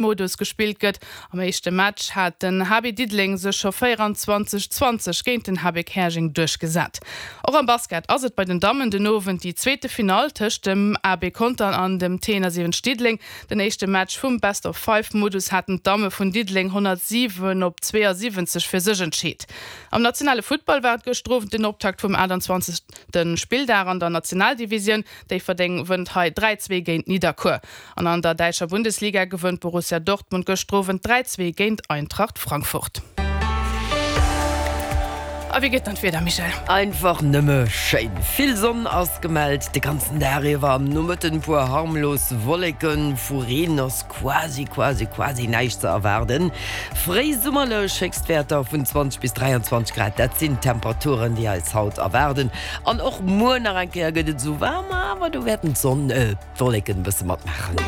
Modus gespillt gëtt. Am éischte Match hat den HB Diddeleng sech scho 24, 20 géint den HB Käerjeng duerchgesat. Och am Basket ass et bei den Dammen den Owend déi zweete Finall tëscht dem AB Contern an dem T71 Diddeleng. Den éischte Match vum Best-of-Five-Modus haten d'Damme vun Diddeleng 107 op 72 fir sech entscheet. Am nationale Futtball war et gëschter Owend den Optakt vum 28. Spilldag an der Nationaldivisioun. Déifferdeng wënnt hei 3, 2 géint Nidderkuer. An an der däitscher Bundesliga gewënnt Borussia Dortmund gëschter Owend 3, 2 géint Eintracht Frankfurt. A wéi gëtt dann d'Wieder, Michèle? Einfach nëmme schéin! Vill Sonn ass gemellt de ganzen Dag iwwer, am Nomëtten e puer harmlos Wolleken, vu Reen ass quasi, quasi, quasi näischt ze erwaarden. Fréisummerlech Héchstwäerter vun 20 bis 23 Grad, dat sinn d'Temperaturen, déi eis haut erwaarden. An och muer nach eng Kéier gëtt et esou waarm, awer do wäerten d'Sonn, D'Wolleken bësse matmaachen.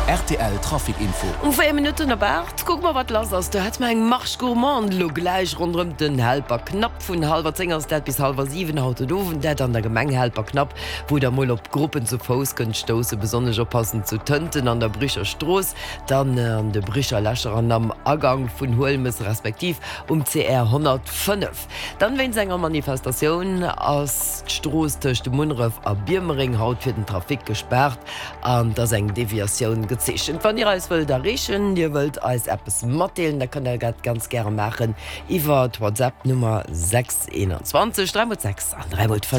Rtl Trafic Info. Um 4 Minutten op 8 kucke mer wat lass ass. Do hätte mer eng Marche gourmande elo gläich ronderëm den Helperknapp. Vun hallwer 10 ass dat bis hallwer 7 haut den Owend. Dat an der Gemeng Helperknapp, wou der mol op Gruppen zu Fouss kënnt stoussen. Besonnesch oppassen zu Tënten an der Bricher Strooss, dann an de Bricher Lächer an am Agang vun Huelmes respektiv um CR 105. Dann wéinst enger Manifestatioun ass d'Strooss tëscht Munneref a Biermereng haut fir den Trafic gespaart an et ass eng Deviatioun gezeechent. Wann dir eis wëllt erreechen, dir wëllt eis eppes matdeelen, da kënnt der dat ganz gäre maachen iwwer d'Whatsapp Nummer 6 21 3 mol 6 an 3 mol 5.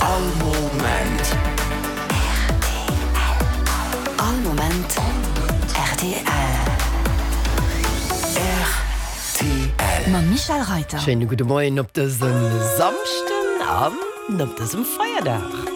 All Moment. All Moment rtl. Rtl. Mam Michel Reiter. Schéine gudde Moien op dësem Samschden an op dësem Feierdag.